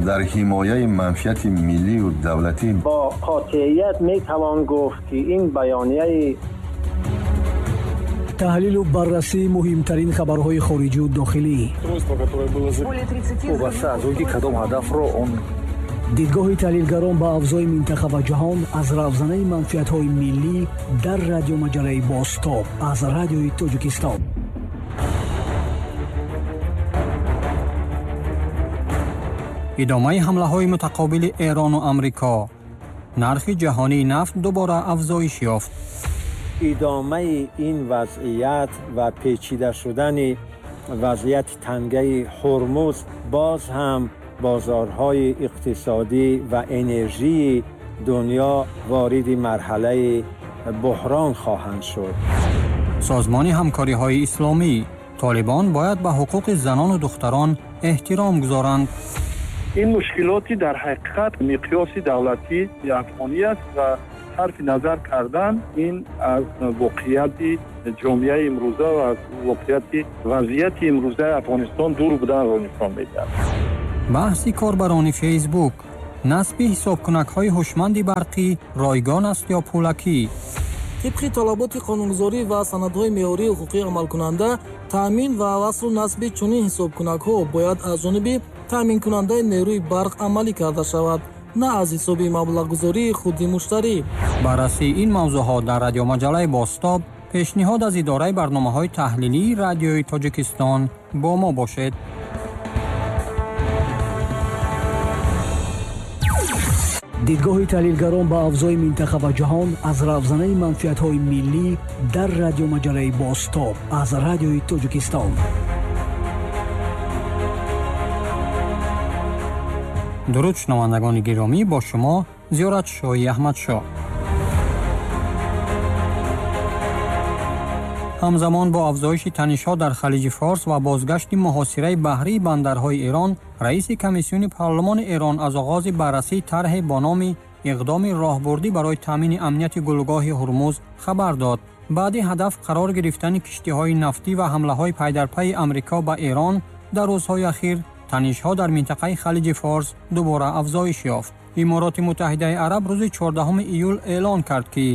Дар ҳимояи манфиати миллию давлатӣ бо қотеият метавон гуфт, ки ин баёнияи таҳлилу баррасии муҳимтарин хабарҳои хориҷию дохилӣ, вобаста аз он ки кадом ҳадафро он дидгоҳи таҳлилгарон ба авзои минтақа ва ҷаҳон аз равзанаи манфиатҳои миллӣ дар радиомаҷалаи «Бозтоб» аз Радиои Тоҷикистон. Идомаи ҳамлаҳои мутақобили Эрону Амрико, нархи ҷаҳонии нафт дубора афзоиш ёфт. Идомаи ин вазъият ва печида шудани вазъияти тангаи Ҳурмуз боз ҳам бозорҳои иқтисодӣ ва энержии дунё вориди марҳалаи буҳрон хоҳанд шуд. Созмони ҳамкориҳои исломӣ: Толибон бояд ба ҳуқуқи занону духтарон эҳтиром гузоранд. Ин мушкилоти дар ҳақиқат миқёси давлатии афғонӣ аст ва сарфи назар кардан ин аз воқеияти ҷомеаи имрӯза ва аз воқеияти вазъияти имрӯзаи Афғонистон дур буданро нишон медиҳад. Баҳси корбарони Фейсбук: насби ҳисобкунакҳои ҳушманди барқӣ ройгон аст ё пулакӣ? Тибқи талаботи қонунгузорӣ ва санадҳои меъёрии ҳуқуқӣ амалкунанда, таъмин ва васлу насби чунин ҳисобкунакҳо бояд аз ҷониби таъминкунандаи нерӯи барқ амалӣ карда шавад, на аз ҳисоби маблағгузории худи муштарӣ. Баррасии ин мавзӯъҳо дар радиомаҷалаи «Бозтоб», пешниҳод аз идораи барномаҳои таҳлилии Радиои Тоҷикистон. Бо мо бошед. Дидгоҳи таҳлилгарон ба авзои минтақа ва ҷаҳон аз равзанаи манфиатҳои миллӣ дар радиомаҷалаи «Бозтоб» аз Радиои Тоҷикистон. Дуруд, шунавандагони гиромӣ, бо шумо Зиёратшоҳи Аҳмадшоҳ. Ҳамзамон бо афзоиши танишҳо дар Халиҷи Форс ва бозгашти муҳосираи баҳрии бандарҳои Эрон, раиси комиссиони парлумони Эрон аз оғози баррасии тарҳе бо номи иқдоми роҳбурдӣ барои таъмини амнияти гулӯгоҳи Ҳурмуз хабар дод. Баъди ҳадаф қарор гирифтани киштиҳои нафтӣ ва ҳамлаҳои пайдарпайи Амрико ба Эрон дар рӯзҳои ахир, танишҳо дар минтақаи Халиҷи Форс дубора афзоиш ёфт. Имороти Муттаҳидаи Араб рӯзи 14 июл эълон кард, ки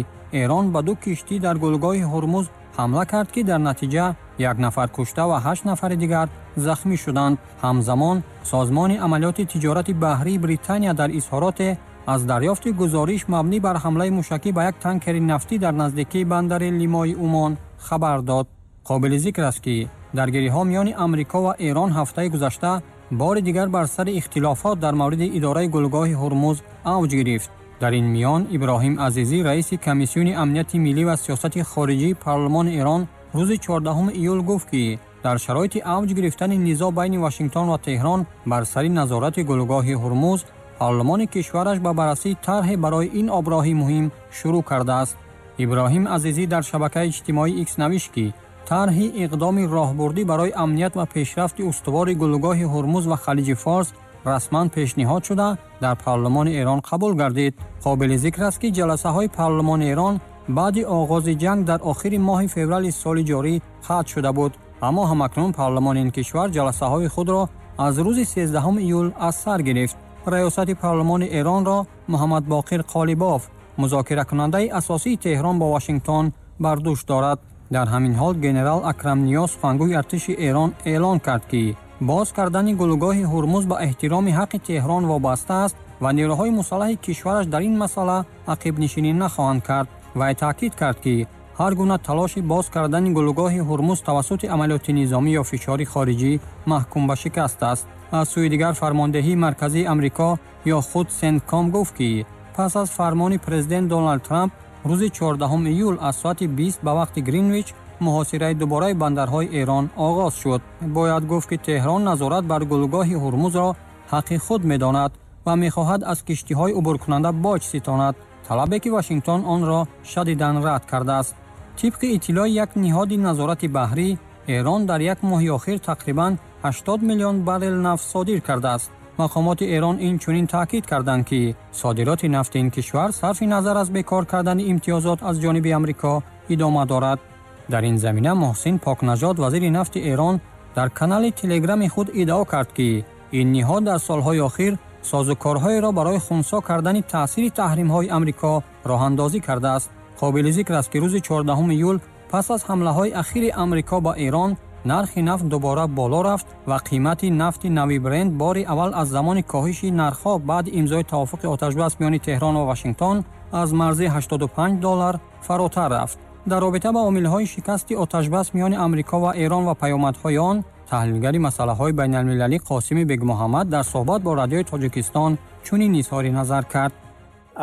Эрон ба ду киштӣ дар гулӯгоҳи Ҳурмуз ҳамла кард, ки дар натиҷа як нафар кушта ва 8 нафари дигар захмӣ шуданд. Ҳамзамон Созмони амалиёти тиҷорати баҳрии Британия дар изҳороте аз дарёфти гузориш мабнӣ бар ҳамлаи мушакӣ ба як танкери нафтӣ дар наздикии бандари Лимои Умон хабар дод. Қобили зикр аст, ки даргириҳо миёни Амрико ва Эрон ҳафтаи гузашта бори дигар бар сари ихтилофот дар мавриди идораи гулӯгоҳи Ҳурмуз авҷ гирифт. Дар ин миён Иброҳим Азизӣ, раиси комиссиони амнияти миллӣ ва сиёсати хориҷии парлумони Эрон, рӯзи 14 июл гуфт, ки дар шароити авҷ гирифтани низоъ байни Вашингтон ва Теҳрон бар сари назорати гулӯгоҳи Ҳурмуз, парлумони кишвараш ба баррасии тарҳе барои ин оброҳи муҳим шурӯъ кардааст. Иброҳим Азизӣ дар шабакаи иҷтимоии Икс навишт, ки тарҳи иқдоми роҳбурдӣ барои амният ва пешрафти устувори гулӯгоҳи Ҳурмуз ва Халиҷи Форс расман пешниҳод шуда, дар парлумони Эрон қабул гардид. Қобили зикр аст, ки ҷаласаҳои парлумони Эрон баъди оғози ҷанг дар охири моҳи феврали соли ҷорӣ қатъ шуда буд, аммо ҳамакнун парлумони ин кишвар ҷаласаҳои худро аз рӯзи 13 июл аз сар гирифт. Раёсати парлумони Эронро Муҳаммадбоқир Қолибоф, музокиракунандаи асосии Теҳрон бо Вашингтон, бар дӯш дорад. Дар ҳамин ҳол генерал Акрам Ниёз, сухангӯи артиши Эрон, эълон кард, ки боз кардани гулӯгоҳи Ҳурмуз ба эҳтироми ҳаққи Теҳрон вобаста аст ва нерӯҳои мусаллаҳи кишвараш дар ин масъала ақибнишинӣ нахоҳанд кард. Вай таъкид кард, ки ҳар гуна талоши боз кардани гулӯгоҳи Ҳурмуз тавассути амалиёти низомӣ ё фишори хориҷӣ маҳкум ба шикаст аст. Аз сӯи дигар, фармондеҳии марказии Амрико ё худ Сентком гуфт, ки пас аз фармони президент Доналд Трамп рӯзи 14 июл аз соати 20 ба вақти Гринвич муҳосираи дубораи бандарҳои Эрон оғоз шуд. Бояд гуфт, ки Теҳрон назорат бар гулӯгоҳи Ҳурмузро ҳаққи худ медонад ва мехоҳад аз киштиҳои убуркунанда боҷ ситонад, талабе ки Вашингтон онро шадидан рад кардааст. Тибқи иттилои як ниҳоди назорати баҳрӣ, Эрон дар як моҳи охир тақрибан 80 миллион баррел нафт содир кардааст. Мақомоти Эрон инчунин таъкид карданд, ки содироти нафти ин кишвар сарфи назар аз бекор кардани имтиёзот аз ҷониби Амрико идома дорад. Дар ин замина Муҳсин Покнажод, вазири нафти Эрон, дар канали телеграми худ иддао кард, ки ин ниҳод дар солҳои охир Созукорҳоеро барои хунсо кардани таъсири таҳримҳои Амрико роҳандозӣ кардааст. Қобили зикр аст, ки рӯзи 14 июл пас аз ҳамлаҳои ахири Амрико ба Эрон нархи нафт дубора боло рафт ва қимати нафти нави Брент бори аввал аз замони коҳиши нархҳо баъди имзои тавофуқи оташбас миёни Теҳрон ва Вашингтон аз марзи 85 доллар фаротар рафт. Дар робита ба омилҳои шикасти оташбас миёни Амрико ва Эрон ва паёмадҳои он таҳлилгари масъалаҳои байналмилалӣ Қосими Бегмуҳаммад дар суҳбат бо Радиои Тоҷикистон чунин изҳори назар кард.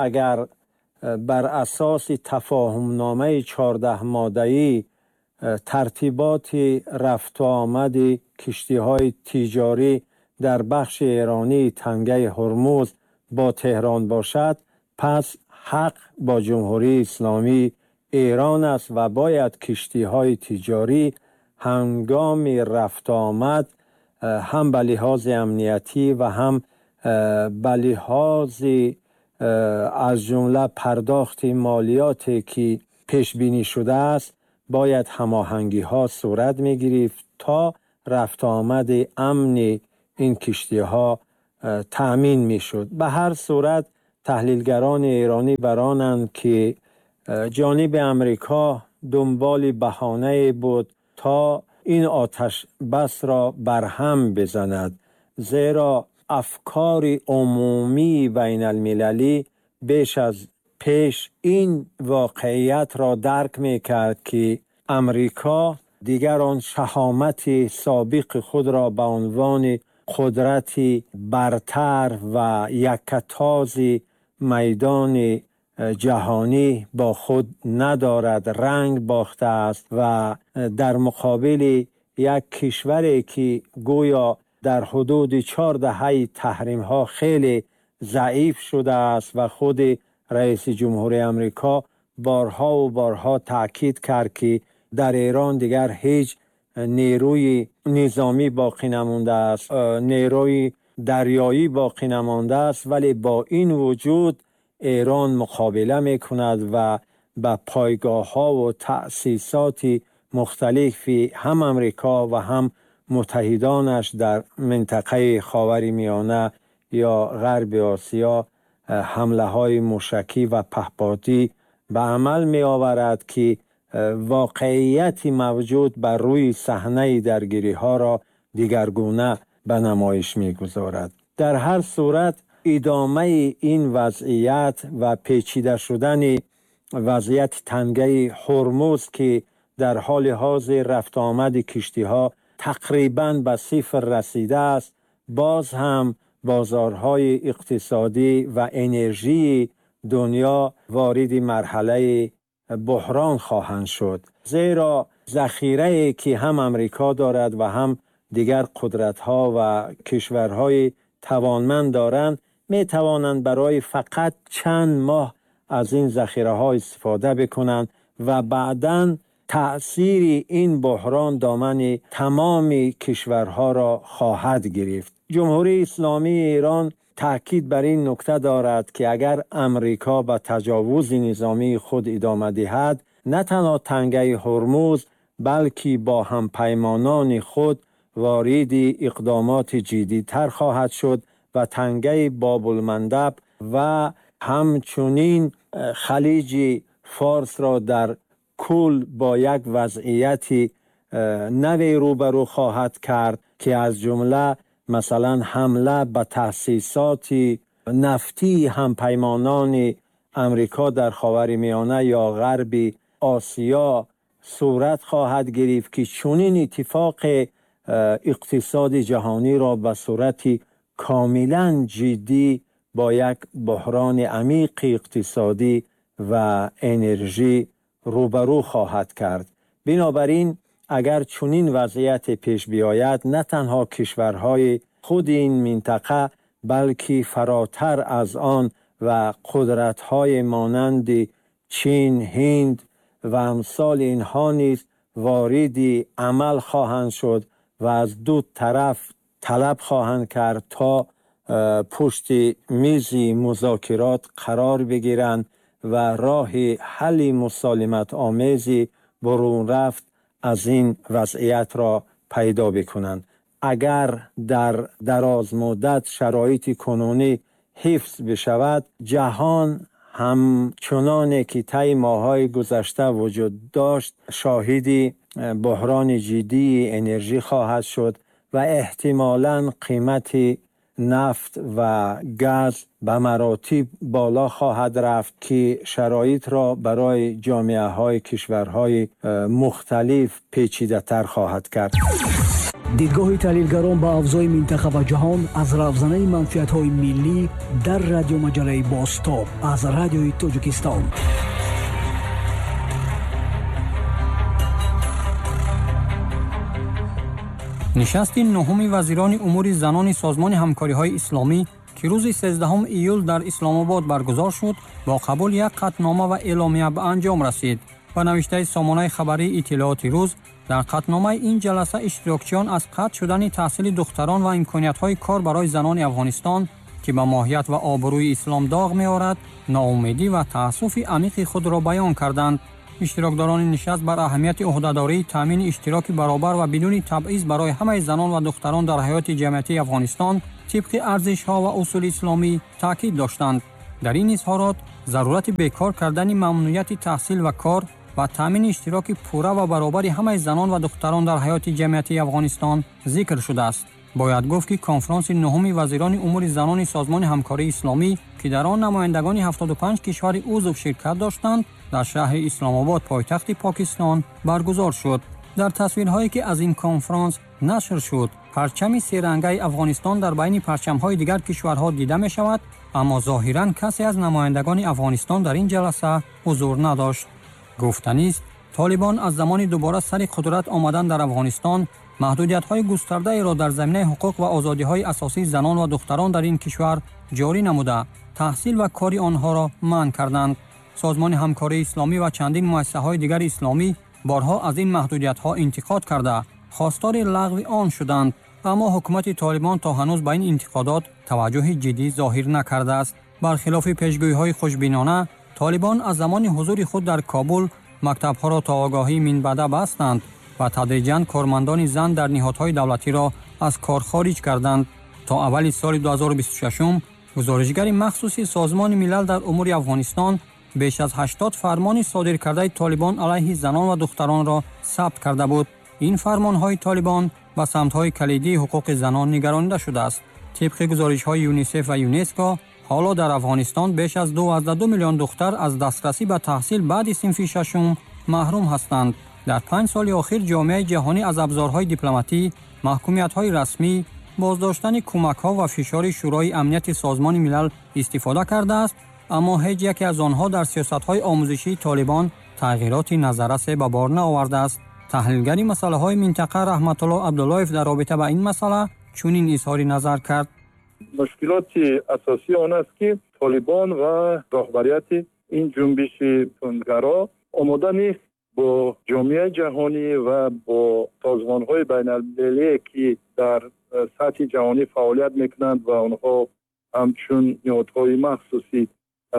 Агар бар асоси тафоҳумномаи 14 моддаӣ тартиботи рафту омади киштиҳои тиҷорӣ дар бахши эронии тангаи Ҳурмуз бо Теҳрон бошад, пас ҳақ бо Ҷумҳурии Исломии Эрон аст ва бояд киштиҳои тиҷорӣ ҳангоми рафту омад ҳам ба лиҳози амниятӣ ва ҳам ба лиҳози аз ҷумла пардохти молиёте ки пешбинӣ шудааст, бояд ҳамоҳангиҳо сурат мегирифт то рафту омади амни ин киштиҳо таъмин мешуд. Ба ҳар сурат, таҳлилгарони эронӣ бар онанд, ки ҷониби Амрико дунболи баҳонае буд то ин оташбасро барҳам бизанад, зеро афкори умумии байналмилалӣ беш аз пеш ин воқеиятро дарк мекард, ки Амрико дигар он шаҳомати собиқи худро ба унвони қудрати бартар ва яккатози майдони ҷаҳонӣ бо худ надорад, ранг бохтааст ва дар муқобили як кишваре ки гӯё дар ҳудуди 4 даҳаи таҳримҳо хеле заиф шудааст ва худи раиси ҷумҳури Амрико борҳо ва борҳо таъкид кард, ки дар Эрон дигар ҳеҷ нерӯи низомӣ боқӣ намондааст, нерӯи дарёӣ боқӣ намондааст, вале бо ин вуҷуд Эрон муқобила мекунад ва ба пойгоҳҳо ва таъсисоти мухталифи ҳам Амрико ва ҳам муттаҳидонаш дар минтақаи Ховари Миёна ё Ғарби Осиё ҳамлаҳои мушакӣ ва паҳподӣ ба амал меоварад, ки воқеияти мавҷуд бар рӯи саҳнаи даргириҳоро дигаргуна ба намоиш мегузорад. Дар ҳар сурат, идомаи ин вазъият ва печида шудани вазъияти тангаи Ҳурмуз, ки дар ҳоли ҳозир рафту омади киштиҳо тақрибан ба сифр расидааст, боз ҳам бозорҳои иқтисодӣ ва энержии дунё вориди марҳалаи буҳрон хоҳанд шуд, зеро захирае ки ҳам Амрико дорад ва ҳам дигар қудратҳо ва кишварҳои тавонманд доранд, метавонанд барои фақат чанд моҳ аз ин захираҳо истифода бикунанд ва баъдан таъсири ин буҳрон домани тамоми кишварҳоро хоҳад гирифт. Ҷумҳурии Исломии Эрон таъкид бар ин нукта дорад, ки агар Амрико ба таҷовузи низомии худ идома диҳад, на танҳо тангаи Ҳурмуз, балки бо ҳампаймонони худ вориди иқдомоти ҷиддитар хоҳад шуд ва тангаи Бобулмандаб ва ҳамчунин Халиҷи Форсро дар кул бо як вазъияти наве рӯбарӯ хоҳад кард, ки аз ҷумла масалан ҳамла ба таъсисоти нафтии ҳампаймонони Амрико дар Ховари Миёна ё Ғарби Осиё сурат хоҳад гирифт, ки чунин иттифоқи иқтисоди ҷаҳониро ба сурати комилан ҷиддӣ бо як буҳрони амиқи иқтисодӣ ва энержӣ рӯбарӯ хоҳад кард. Бинобар ин, агар чунин вазъияте пеш биёяд, на танҳо кишварҳои худи ин минтақа, балки фаротар аз он ва қудратҳои монанди Чин, Ҳинд ва амсоли инҳо низ вориди амал хоҳанд шуд ва аз ду тараф талаб хоҳанд кард то пушти мизи музокирот қарор бигиранд ва роҳи ҳалли мусолиматомези бурунрафт аз ин вазъиятро пайдо бикунанд. اگر در دراز مدت شرایط کنونی حفظ بشود، جهان همچنان که طی ماه‌های گذشته وجود داشت شاهد بحران جدی انرژی خواهد شد و احتمالاً قیمت نفت و گاز به مراتب بالا خواهد رفت که شرایط را برای جامعه های کشورهای مختلف پیچیده تر خواهد کرد. Дидгоҳи таҳлилгарон ба авзои минтақа ва ҷаҳон аз равзанаи манфиатҳои миллӣ дар радиомаҷалаи Бозтоб аз Радиои Тоҷикистон. Нишасти нуҳуми вазирони умури занони Созмони ҳамкориҳои исломӣ, ки рӯзи 13 июл дар Исломобод баргузор шуд, бо қабули як қатънома ва эъломия ба анҷом расид. Ба навиштаи сомонаи хабарии Иттилооти рӯз, дар қатъномаи ин ҷаласа иштирокчиён аз қатъ шудани таҳсили духтарон ва имкониятҳои кор барои занони Афғонистон, ки ба моҳият ва обрӯи ислом доғ меорад, ноумедӣ ва таассуфи амиқи худро баён карданд. Иштирокдорони нишаст бар аҳамияти ӯҳдадории таъмини иштироки баробар ва бидуни табъиз барои ҳамаи занон ва духтарон дар ҳаёти ҷамъиятии Афғонистон тибқи арзишҳо ва усули исломӣ таъкид доштанд. Дар ин изҳорот зарурати бекор кардани мамнуияти таҳсил ва кор ва таъмини иштироки пурра ва баробари ҳамаи занон ва духтарон дар ҳаёти ҷамъиятии Афғонистон зикр шудааст. Бояд гуфт, ки конфронси нуҳуми вазирони умури занони Созмони ҳамкории исломӣ, ки дар он намояндагони 75 кишвари узв ширкат доштанд, дар шаҳри Исломобод, пойтахти Покистон, баргузор шуд. Дар тасвирҳое, ки аз ин конфронс нашр шуд, парчами серангаи Афғонистон дар байни парчамҳои дигар кишварҳо дида мешавад, аммо зоҳиран касе аз намояндагони Афғонистон дар ин ҷаласа ҳузур надошт. Гуфтанист, Толибон аз замони дубора сари қудрат омадан дар Афғонистон маҳдудиятҳои густардаеро дар заминаи ҳуқуқ ва озодиҳои асосии занон ва духтарон дар ин кишвар ҷорӣ намуда, таҳсил ва кори онҳоро манъ карданд. Созмони ҳамкории исломӣ ва чандин муассисаҳои дигари исломӣ борҳо аз ин маҳдудиятҳо интиқод карда, хостори лағви он шуданд, аммо ҳукумати Толибон то ҳанӯз ба ин интиқодот таваҷҷӯҳи ҷиддӣ зоҳир накардааст. Бархилофи пешгӯиҳои хушбинона, Толибон аз замони ҳузури худ дар Кобул мактабҳоро то огоҳии минбаъда бастанд ва тадриҷан кормандони зан дар ниҳодҳои давлатиро аз кор хориҷ карданд. То аввали соли 2026 гузоришгари махсуси Созмони Милал дар умури Афғонистон беш аз 80 фармони содир кардаи Толибон алайҳи занон ва духтаронро сабт карда буд. Ин фармонҳои Толибон ба самтҳои калидии ҳуқуқи занон нигаронида шудааст. Тибқи гузоришҳои ЮНИСЕФ ва ЮНЕСКО, ҳоло дар Афғонистон беш аз 2,2 миллион духтар аз дастрасӣ ба таҳсил баъди синфи шашум маҳрум ҳастанд. Дар 5 соли охир ҷомеаи ҷаҳонӣ аз абзорҳои дипломатӣ, маҳкумиятҳои расмӣ, боздоштани кӯмакҳо ва фишори Шӯрои Амнияти Созмони Милал истифода кардааст, аммо ҳеҷ яке аз онҳо дар сиёсатҳои омӯзишии Толибон тағйироти назаррасе ба бор наовардааст. Таҳлилгари масъалаҳои минтақа Раҳматулло Абдуллоев дар робита ба ин масъала чунин изҳори назар кард. Мушкилоти асосии он аст, ки Толибон ва роҳбарияти ин ҷунбиши тундгаро омода нест бо ҷомеаи ҷаҳонӣ ва бо созмонҳои байналмилалие, ки дар сатҳи ҷаҳонӣ фаъолият мекунанд ва онҳо ҳамчун ниҳодҳои махсуси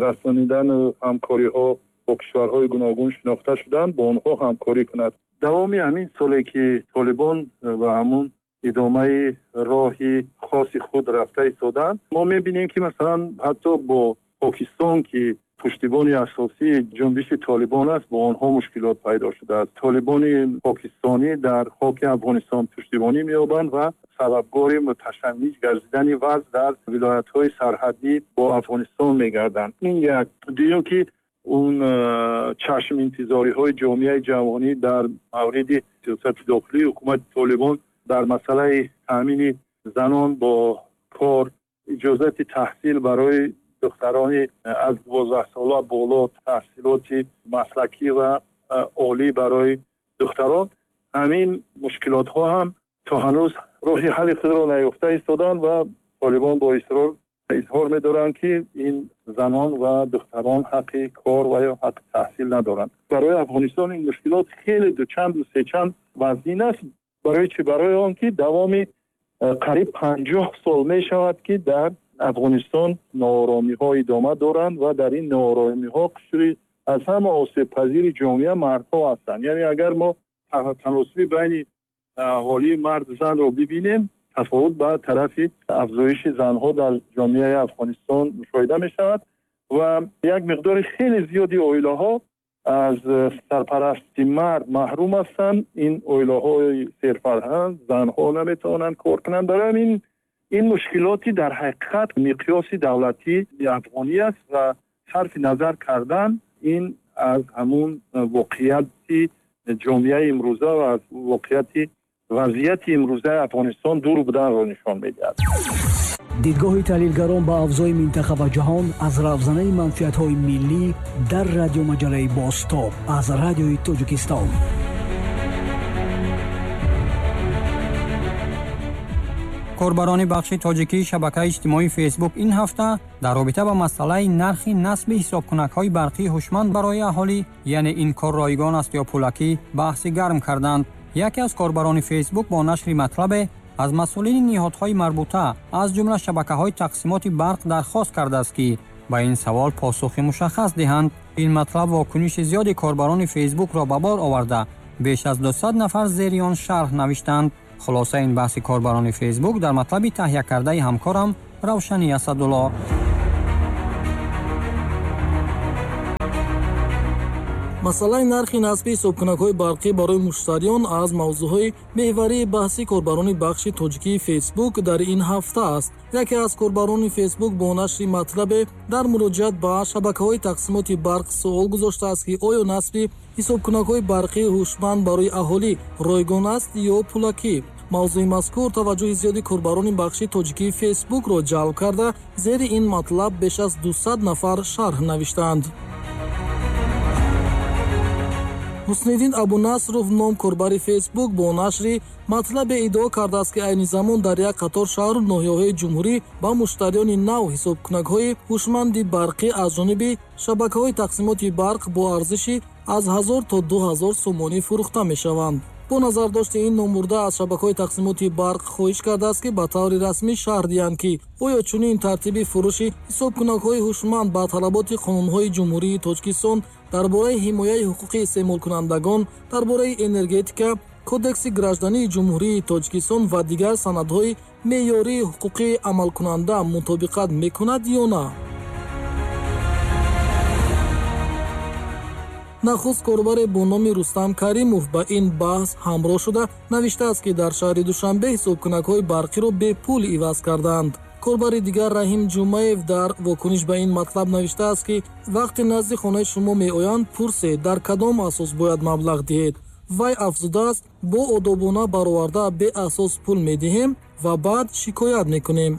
расонидану ҳамкориҳо бо кишварҳои гуногун шинохта шуданд, бо онҳо ҳамкорӣ кунад. Давоми ҳамин соле, ки Толибон ва ҳамун идомаи роҳи хоси худ рафта истоданд, мо мебинем, ки масалан ҳатто бо Покистон, ки пуштибони асосии ҷунбиши Толибон аст, бо онҳо мушкилот пайдо шудааст. Толибони покистонӣ дар хоки Афғонистон пуштибонӣ меёбанд ва сабабгори муташанниҷ гардидани вазъ дар вилоятҳои сарҳадӣ бо Афғонистон мегарданд. Ин як. Дуюм, ки он чашм интизориҳои ҷомеаи ҷаҳонӣ дар мавриди сиёсати дохилии ҳукумати Толибон дар масъалаи таъмини занон бо кор, иҷозати таҳсил барои духтарони аз 12 сола боло, таҳсилоти маслакӣ ва олӣ барои духтарон, ҳамин мушкилотҳо ҳам то ҳанӯз роҳи ҳалли худро наёфта истоданд ва Толибон бо исрор изҳор медоранд, ки ин занон ва духтарон ҳаққи кор ва ё ҳаққи таҳсил надоранд. Барои Афғонистон ин мушкилот хеле дучанд сечанд вазнин аст. Барои чӣ? Барои он ки давоми қариб 50 сол мешавад, ки дар Афғонистон нооромиҳо идома доранд ва дар ин нооромиҳо қишри аз ҳама осебпазири ҷомеа мардҳо ҳастанд. Яъне агар мо таносуби байни аҳолии мард занро бибинем, тафовут ба тарафи афзоиши занҳо дар ҷомеаи Афғонистон мушоҳида мешавад ва як миқдори хеле зиёди оилаҳо аз сарпарасти мард маҳрум ҳастанд. Ин оилаҳои серфарҳанг, занҳо наметавонанд кор кунанд. Барои ҳамин ин мушкилоти дар ҳақиқат миқёси давлатии афғонӣ аст ва сарфи назар кардан ин аз ҳамун воқеияти ҷомеаи имрӯза ва аз воқеияти вазъияти имрӯзаи Афғонистон дур буданро нишон медиҳад. Дидгоҳи таҳлилгарон ба авзои минтақа ва ҷаҳон аз равзанаи манфиатҳои миллӣ дар радиомаҷалаи Бозтоб аз Радиои Тоҷикистон. Корбарони бахши тоҷикии шабакаи иҷтимоии Фейсбук ин ҳафта дар робита ба масъалаи нархи насби ҳисобкунакҳои барқии ҳушманд барои аҳолӣ, яъне ин кор ройгон аст ё пулакӣ, баҳси гарм карданд. Яке аз корбарони Фейсбук бо нашри матлабе аз масъулини ниҳодҳои марбута, аз ҷумла шабакаҳои тақсимоти барқ дархост кардааст, ки ба ин савол посухи мушаххас диҳанд. Ин матлаб вокуниши зиёди корбарони Фейсбукро ба бор оварда, беш аз 200 нафар зери он шарҳ навиштанд. Хулосаи ин баҳси корбарони Фейсбук дар матлаби таҳия кардаи ҳамкорам Равшани Асадулло. Масъалаи нархи насби ҳисобкунакҳои барқӣ барои муштариён аз мавзӯъҳои меҳварии баҳси корбарони бахши тоҷикии Фейсбук дар ин ҳафта аст. Яке аз корбарони Фейсбук бо нашри матлабе дар муроҷиат ба шабакаҳои тақсимоти барқ суол гузоштааст, ки оё насби ҳисобкунакҳои барқии ҳушманд барои аҳолӣ ройгон аст ё пулакӣ. Мавзӯи мазкур таваҷҷӯҳи зиёди корбарони бахши тоҷикии Фейсбукро ҷалб карда, зери ин матлаб беш аз 200 нафар шарҳ навиштаанд. Ҳусниддин Абунасров ном корбари Фейсбук бо нашри матлабе иддао кардааст, ки айни замон дар як қатор шаҳру ноҳияҳои ҷумҳурӣ ба муштариёни нав ҳисобкунакҳои ҳушманди барқӣ аз ҷониби шабакаҳои тақсимоти барқ бо арзиши аз 1000 то 2000 сомонӣ фурӯхта мешаванд. Бо назардошти ин номбурда аз шабакаҳои тақсимоти барқ хоҳиш кардааст, ки ба таври расмӣ шарҳ диҳанд, ки оё чунин тартиби фурӯши ҳисобкунакҳои ҳушманд ба талаботи қонунҳои Ҷумҳурии Тоҷикистон дар бораи ҳимояи ҳуқуқи истеъмолкунандагон, дар бораи энергетика, Кодекси граждании Ҷумҳурии Тоҷикистон ва дигар санадҳои меъёрии ҳуқуқии амалкунанда мутобиқат мекунад ё на. Нахуст корбаре бо номи Рустам Каримов ба ин баҳс ҳамроҳ шуда навиштааст, ки дар шаҳри Душанбе ҳисобкунакҳои барқиро бепул иваз кардаанд. Корбари дигар Раҳим Ҷумаев дар вокуниш ба ин матлаб навиштааст, ки вақте назди хонаи шумо меоянд, пурсед, дар кадом асос бояд маблағ диҳед. Вай афзудааст, бо одобона бароварда беасос пул медиҳем ва баъд шикоят мекунем.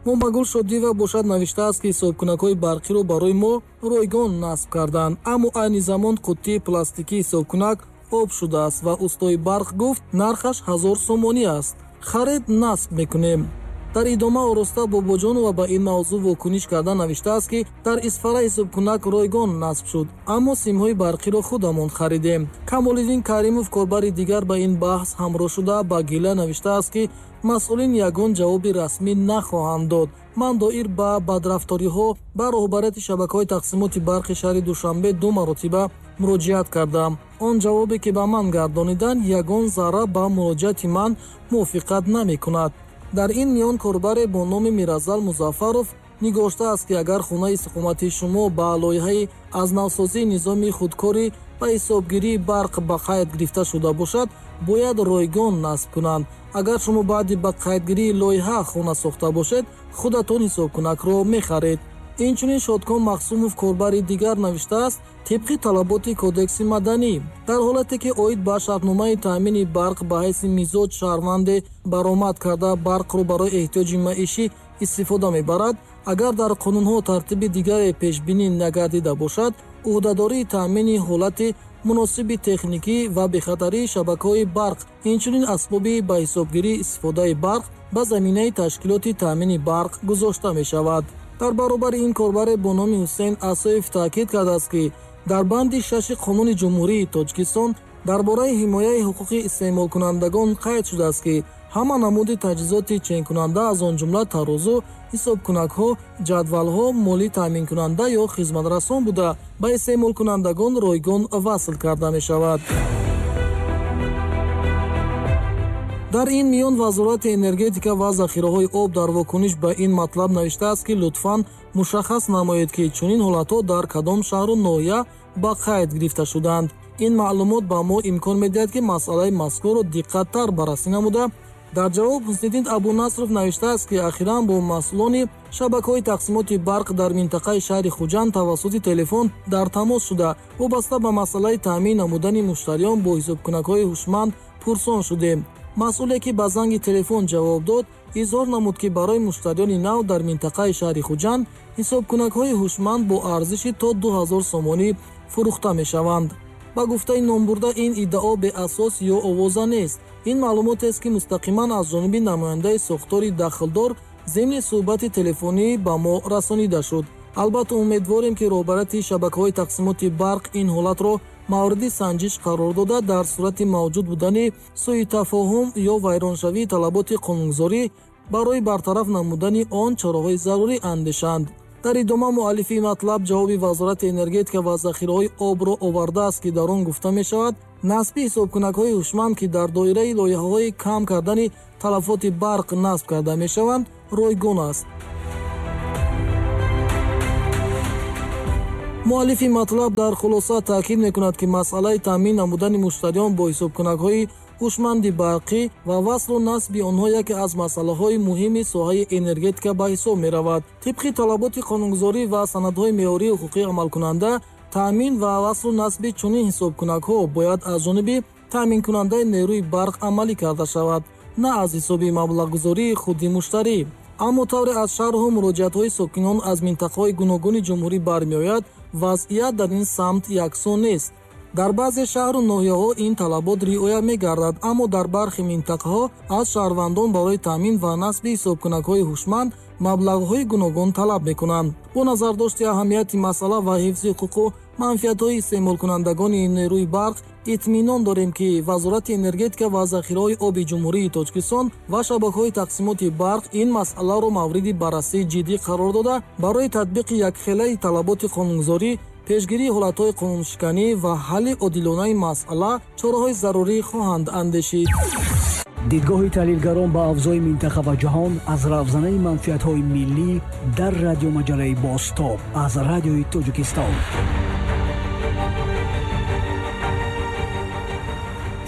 Момагул Шодиева бошад навиштааст, ки ҳисобкунакҳои барқиро барои мо ройгон насб карданд, аммо айни замон қуттии пластикии ҳисобкунак об шудааст ва устои барқ гуфт, нархаш 1000 сомонӣ аст. Харид, насб мекунем. Дар идома Ороста Бобоҷонова ба ин мавзӯъ вокуниш карда навиштааст, ки дар Исфара ҳисобкунак ройгон насб шуд, аммо симҳои барқиро худамон харидем. Камолиддин Каримов корбари дигар ба ин баҳс ҳамроҳ шуда ба гила навиштааст, ки масъулин ягон ҷавоби расмӣ нахоҳанд дод. Ман доир ба бадрафториҳо ба роҳбарияти шабакаҳои тақсимоти барқи шаҳри Душанбе 2 маротиба муроҷиат кардам. Он ҷавобе, ки ба ман гардониданд, ягон зарра ба муроҷиати ман мувофиқат намекунад. Дар ин миён корбаре бо номи Миразал Музаффаров нигоштааст, ки агар хонаи истиқоматии шумо ба лоиҳаи аз навсозии низоми худкорӣ ба ҳисобгирии барқ ба қайд гирифта шуда бошад, бояд ройгон насб кунанд. Агар шумо баъди ба қайдгирии лоиҳа хона сохта бошед, худатон ҳисобкунакро мехаред. Инчунин Шодком Махсумов корбари дигар навиштааст, тибқи талаботи Кодекси маданӣ, дар ҳолате ки оид ба шартномаи таъмини барқ ба ҳайси мизоҷ шаҳрванде баромад карда барқро барои эҳтиёҷи маишӣ истифода мебарад, агар дар қонунҳо тартиби дигаре пешбинӣ нагардида бошад, ӯҳдадории таъмини ҳолати муносиби техникӣ ва бехатарии шабакаҳои барқ, инчунин асбоби ба ҳисобгирии истифодаи барқ ба заминаи ташкилоти таъмини барқ гузошта мешавад. Дар баробари ин корбаре бо номи Ҳусейн Асоев таъкид кардааст, ки дар банди 6 қонуни Ҷумҳурии Тоҷикистон дар бораи ҳимояи ҳуқуқи истеъмолкунандагон қайд шудааст, ки ҳама намуди таҷҳизоти ченкунанда, аз он ҷумла тарозу, ҳисобкунакҳо, ҷадвалҳо, моли таъминкунанда ё хизматрасон буда, ба истеъмолкунандагон ройгон васл карда мешавад. Дар ин миён Вазорати энергетика ва захираҳои об дар вокуниш ба ин матлаб навиштааст, ки лутфан мушаххас намоед, ки чунин ҳолатҳо дар кадом шаҳру ноҳия ба қайд гирифта шудаанд. Ин маълумот ба мо имкон медиҳад, ки масъалаи мазкурро диққаттар баррасӣ намуда. Дар ҷавоб Ҳусниддин Абунасров навиштааст, ки ахиран бо масъулони шабакаҳои тақсимоти барқ дар минтақаи шаҳри Хуҷанд тавассути телефон дар тамос шуда, вобаста ба масъалаи таъмин намудани муштариён бо ҳисобкунакҳои ҳушманд пурсон шудем. Масъуле, ки ба занги телефон ҷавоб дод, изҳор намуд, ки барои муштариёни нав дар минтақаи шаҳри Хуҷанд ҳисобкунакҳои ҳушманд бо арзиши то 2000 сомонӣ фурӯхта мешаванд. Ба гуфтаи номбурда, ин иддао беасос ё овоза нест. Ин маълумотест, ки мустақиман аз ҷониби намояндаи сохтори дахлдор зимни суҳбати телефонӣ ба мо расонида шуд. Албатта, умедворем, ки роҳбарияти шабакаҳои тақсимоти барқ ин ҳолатро мавриди санҷиш қарор дода, дар сурати мавҷуд будани сӯитафоҳум ё вайроншавии талаботи қонунгузорӣ барои бартараф намудани он чораҳои зарурӣ андешанд. Дар идома муаллифи матлаб ҷавоби Вазорати энергетика ва захираҳои обро овардааст, ки дар он гуфта мешавад, насби ҳисобкунакҳои ҳушманд, ки дар доираи лоиҳаҳои кам кардани талафоти барқ насб карда мешаванд, ройгон аст. Муаллифи матлаб дар хулоса таъкид мекунад, ки масъалаи таъмин намудани муштариён бо ҳисобкунакҳои ҳушманди барқӣ ва васлу насби онҳо яке аз масъалаҳои муҳими соҳаи энергетика ба ҳисоб меравад. Тибқи талаботи қонунгузорӣ ва санадҳои меъёрии ҳуқуқӣ амалкунанда, таъмин ва васлу насби чунин ҳисобкунакҳо бояд аз ҷониби таъминкунандаи нерӯи барқ амалӣ карда шавад, на аз ҳисоби маблағгузории худи муштарӣ. Аммо тавре аз шарҳу муроҷиатҳои сокинон аз минтақаҳои гуногуни ҷумҳурӣ бармеояд, вазъият дар ин самт яксон нест. Дар баъзе шаҳру ноҳияҳо ин талабот риоя мегардад, аммо дар бархи минтақаҳо аз шаҳрвандон барои таъмин ва насби ҳисобкунакҳои ҳушманд маблағҳои гуногун талаб мекунанд. Бо назардошти аҳамияти масъала ва ҳифзи ҳуқуқу манфиатҳои истеъмолкунандагони нерӯи барқ, итминон дорем, ки Вазорати энергетика ва захираҳои оби Ҷумҳурии Тоҷикистон ва шабакаҳои тақсимоти барқ ин масъаларо мавриди баррасии ҷиддӣ қарор дода, барои татбиқи якхелаи талаботи қонунгузорӣ, пешгирии ҳолатҳои қонуншиканӣ ва ҳалли одилонаи масъала чораҳои зарурӣ хоҳанд андешид. Дидгоҳи таҳлилгарон ба авзои минтақа ва ҷаҳон аз равзанаи манфиатҳои миллӣ дар радиомаҷалаи Бозтоб аз Радиои Тоҷикистон.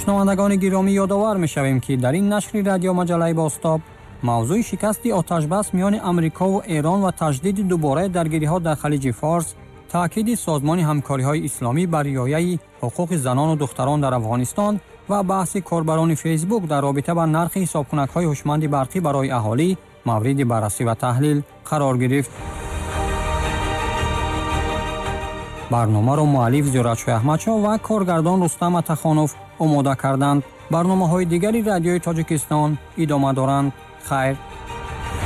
Шунавандагони гиромӣ, ёдовар мешавем, ки дар ин нашри радиомаҷалаи Бозтоб мавзӯи шикасти оташбас миёни Амрикову Эрон ва таҷдиди дубораи даргириҳо дар Халиҷи Форс, таъкиди Созмони ҳамкориҳои исломӣ бар риояи ҳуқуқи занону духтарон дар Афғонистон ва баҳси корбарони Фейсбук дар робита ба нархи ҳисобкунакҳои ҳушманди барқӣ барои аҳолӣ мавриди баррасӣ ва таҳлил қарор гирифт. Барномаро муаллиф Зиёратшоҳ Аҳмадшоҳ ва коргардон Рустам Атахонов омода карданд. Барномаҳои дигари Радиои Тоҷикистон идома доранд. Хайр.